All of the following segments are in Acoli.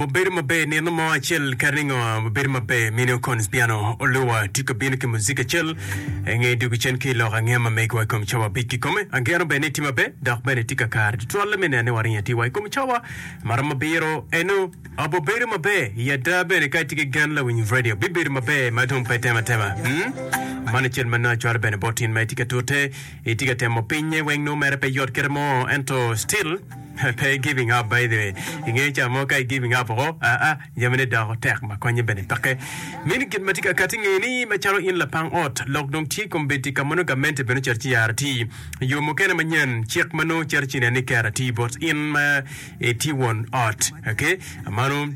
Obedo maber nino mo acel kadi ningo obedo maber mini Okonis Piano Oluwa tye ka bino ki muzik acel inge dwogo cen ki i lok angeya ma megwa i kom cawa abic kikome. Ageno bene ni itye maber dok bene itye kakare tutwalle me neno ni waringo atir wa i kom cawa maromo abiro eno. Obedo maber i ada bene ka itye ki gen lawiny radio bibedo maber ma dong pe temo atema. Hmm? Mano acel ma nongo acwalo bene bot in ma itye ka tute itye ka temo pinye weng nongo mere pe yot kite mo ento still pe giving up by the way ingeyo ca mo ka i giving up oko aa jamine doko tek ma konye bene peke. Mini gin ma tye ka kati nge ni macalo in lapang ot lok dong tye kombeddi ka ma nongo gamente bene ocito ci yaro atir yo mukene manyen cik ma nongo cito ci nen ni ker atir bot in ma Itye won ot, okay? Mano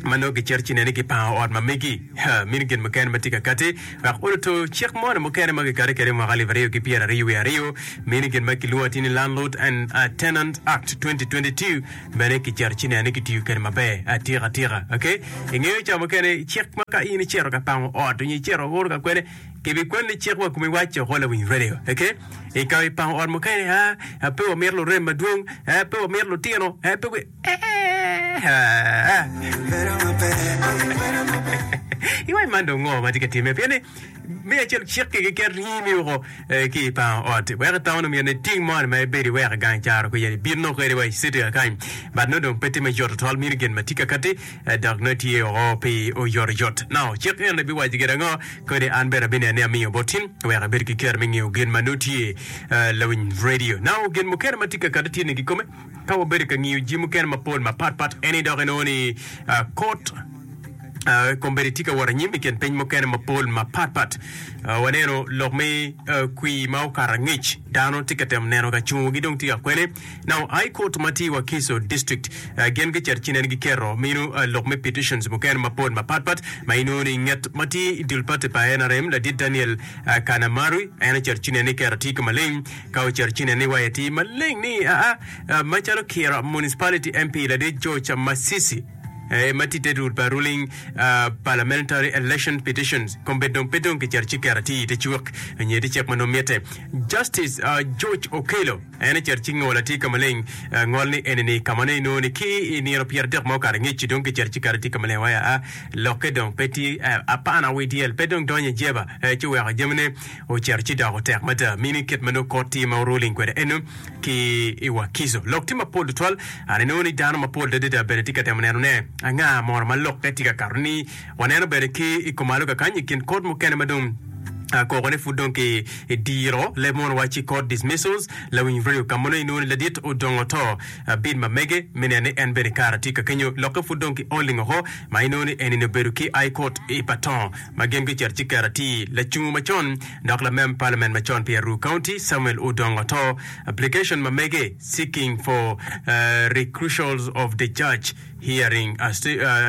ma nongo gicito ci neni gipango ot ma megi. Ha, mino gin mukene ma tye ka kati. Wek oluto cik moni mukene ma gikati kwede i mwaka alip aryo ki pyeraryo wiye aryo, mino gin ma kilwongo atir ni Landlord and Tenant Act 2022 bene kicito ci neni kitiyo kwede maber atika tika. Okay? Ingeyo ca mukene cik ma ka in icito ka pango ot nyo icito oro ka kwene, Kibikwanni cik wa komi wacce oko lawiny radio. Okay? I ka i pango ot mukene, ah, pe wamito lurem madwong, eh, pe wamito lutino, eh, pe wi... Eh, Iwaci man dong ngo ma tye ka timme? Pien ni me acel cik-ki keken ringi woko eh, ki i pango ot. Wek itamo ni myero iting moni ma ibedo iweko i gang caro kwija ibin nongo kwede wa i city kakany. But nongo dong pe tye me yot tutwal mino gin ma tye ka kati eh, dok nongo tye oko pi oyotoyot. Now, cik eni biwaco gin ango? Kodi an bene abineno ni amiyo bot tin wek ibed ki kero me ngeyo gin ma nongo tye lawiny radio. Now gin mukene ma tye ka kati tye ni kikome ka wabedo ka ngiyo jami mukene mapol mapat pat eni dok inongo ni kot kombeddi tye ka wot anyim i kin piny mukene mapol mapat pat. Waneno lok me kwir ma okato angec dano tye ka temo neno ka cungogi dong tye ka kwene. Now High Court ma tye i Wakiso District gin gicito ci nen giketo mino lok me petitions mukene mapol mapat pat ma inongo ni nget ma tye i dul party pa NRM ladit Daniel Kanamaru en ocito ci nen ni keto atir ka maleng ka ocito ci nen ni wayo atir maleng ni aa macalo Kira Municipality MP ladit George Masisi ma tye te dul pa ruling parliamentary election petitions kombeddi dong pe dong kicito ci keto atir i te cuk nyo i te cik ma nongo mitte Justice George Okello En ocito ci ngolo atir ka maleng. Ngol ni eni-ni ka ma nongo inongo ni ki i nino pyeradek ma okato angec-ci dong kicito ci kato atir ka maleng wai aa lokke dong pe tye apana wi dyel pe dong donyo i jeba ci oweko jamine ocito ci doko tek mada mini kit ma nongo kot tye ma ruling kwede eno ki i Wakiso. Lok tye mapol tutwal an inongo ni dano mapol adada bene tye ka temo neno ne anga mono ma lokke tye ka kato ni Waneno bene ki i kumalo kakany i kin kot mukene ma dong koko ne pud dong ki diro leb mono wacci court dismissals lawiny radio ka mono inongo ni ladit odongo to bid ma mege me neno ni en bene kara tye ka kenyo lokke pud dong ki oling oko ma inongo ni enini obedo ki high court i Patong ma gin gucito ci keto atir lacungo macon dok lamem parliament macon pi Aruu County Samuel Odongo to application ma mege seeking for recusals of the judge Hearing a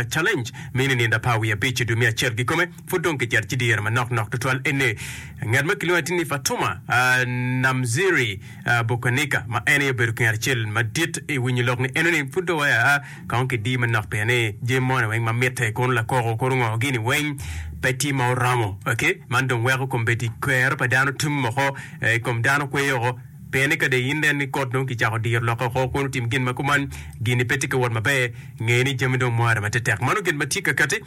Challenge mini nindo apar wiye abic i dwe me acel kikome pud dong kicito ci dyere manok nok tutwal ene ngat ma kilwongo atir ni Fatuma Namziri Bukanika ma en aye obedo kingat acel madit i winyo lok ni enoni pud dong waya kong kidi manok pien ni jami moni weng ma mitte kono lakoko kono ngo gini weng pe tye ma oromo okay man dong weko kombeddi kwero pa dano tum oko i kom dano kweyo oko Pien ni ka dong in inen ni kot dong kicako diro lokke oko kun otim gin ma kuman, gin-ni pe tye ka wot maber, nge ni jami dong mware matetek. Mano gin ma tye ka kati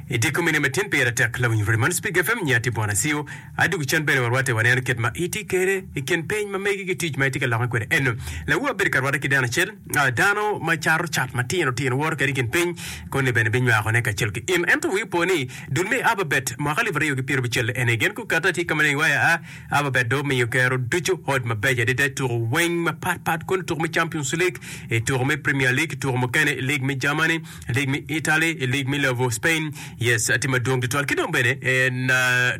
i dye komine ma tin pire tek. Lawiny Rwodi man Spik FM nyi atye Bwana Acio. Adwogi cen bene warwatte waneno kit ma itye kede i kin piny ma megi ki tic ma itye ka lokke kwede. Eno, lawu abedo ka rwatte ki dano acel, dano ma cato cat matino tino woto kede i kin piny, koni bene binywakone kacel ki in. Ento wii opo ni dul me Ababet mwaka alip aryo ki pyerabicel eni gin gukati atir ka maleng iwaya a Ababet dong omiyo kero ducu hot mabeco adada i tuko weng mapat pat kono tuko me Champions League, i tuko me Premier League, tuko mukene i League me Germany, i League me Italy, i League me lobo Spain. Yes, tye madwong tutwal. Ki dong bene en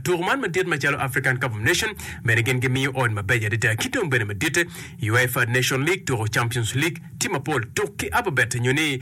tuko man madit macalo African Cup of Nation bene gin gimiyo ot mabeco adada. Ki dong bene maditte UEFA Nation League, tuko Champions League tye mapol. Tuk ki Ababet nyo ni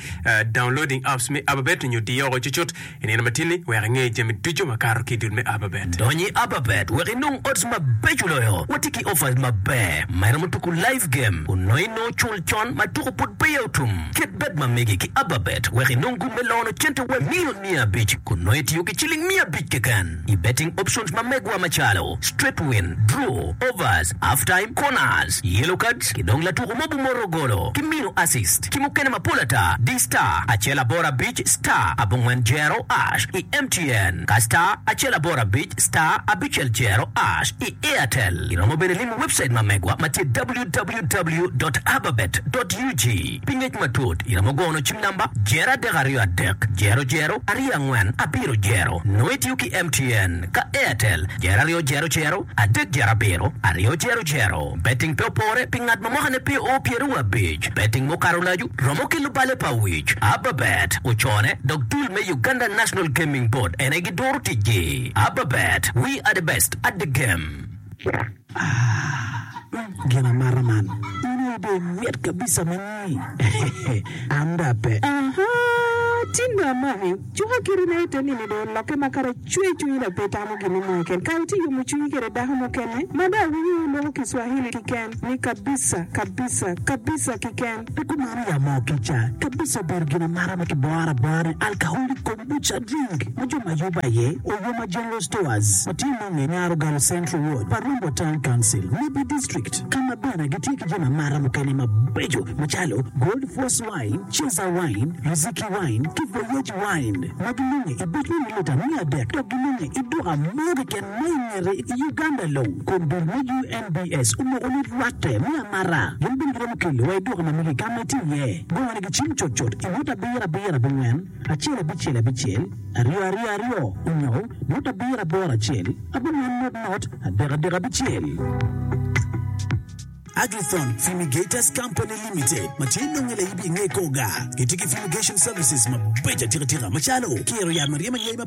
downloading apps me Ababet nyo diyo oko cucut I nino matin-ni, wek inge jami ducu makato ki i dul me Ababet. Dony i Ababet wek inong odds mabeco loyo. Watye ki offers maber. ma iromo tuku live game kun nongo inongo cul con ma tuku pud peya otum. Ket bet ma megi ki Ababet wek inong gum me lono cente wa milion 500 kun nongo itiyo ki ciling 500 keken i betting options ma megwa macalo, straight win, draw, overs, half time, corners, yellow cards ki dong latuku mo bumoto golo ki mino assist ki mukene mapol ata. Di star acel aboro abic star abongwen jero ash i MTN ka star acel aboro abic star abicel jero ash i Airtel. Iromo bene limo webcait ma megwa ma tye www dot ababet dot ug. Pi ngec matut, iromo gono cim namba jero adek aryo adek jero jero aryo angwen abiro jero. Nongo itiyo ki MTN ka Airtel jero aryo jero jero adek jero abiro aryo jero jero. Betting pe opore pi ngat ma mwakane pe oo pyeraryo abic. Betting mukato olacu romo kelo bale pa wic. Ababet ocone dok dul me Uganda National Gaming Board en aye giduro ticgi. Ababet, we are the best at the game. Ah, gin amata man. In aye dong imit kabisa ma nyi. An dong ape. Aha, tin dong amaki. Cuka kiti na ite nini dong olokke ma kara cwer cwinyi dok pe itamo gin mo keken. Kara itye yomo cwinyi kede dako mukene ma dong awinyo loko Kiswahili kiken ni kabisa, kabisa, kabisa kiken. Pe kumeno ya moo kica kabisa obedo gin amata ma kiboro abora ni alcoholic kombucha drink ma jo ma yubo aye Oyoma General Stores ma tye nonge i Nyarogalo Central Ward pa Rombo Town Council, Nebbi District ka ma bene gitye ki jami amata mukene mabeco macalo Gold Force Wine, Ceza Wine, Riziki Wine ki Voyage Wine ma ginonge i buc me milita 300 dok ginonge i duka mo keken ma i ngete i Uganda long kun dul me UNBS omoko ni rwatte me amata gin bene giromo kelo wa i duka ma megi ka ma itye iye. Gone gi cim cutcut i nota abiro abiro abongwen acel abicel abicel aryo aryo aryo onyo nota abiro aboro acel abongwen not not adek adek abicel. Agrithon Fumigators Company Limited ma tye nonge layibi i nge Koga gitye ki fumigation services mabeco atika tika macalo kiro yat ma ryemo anyai ma.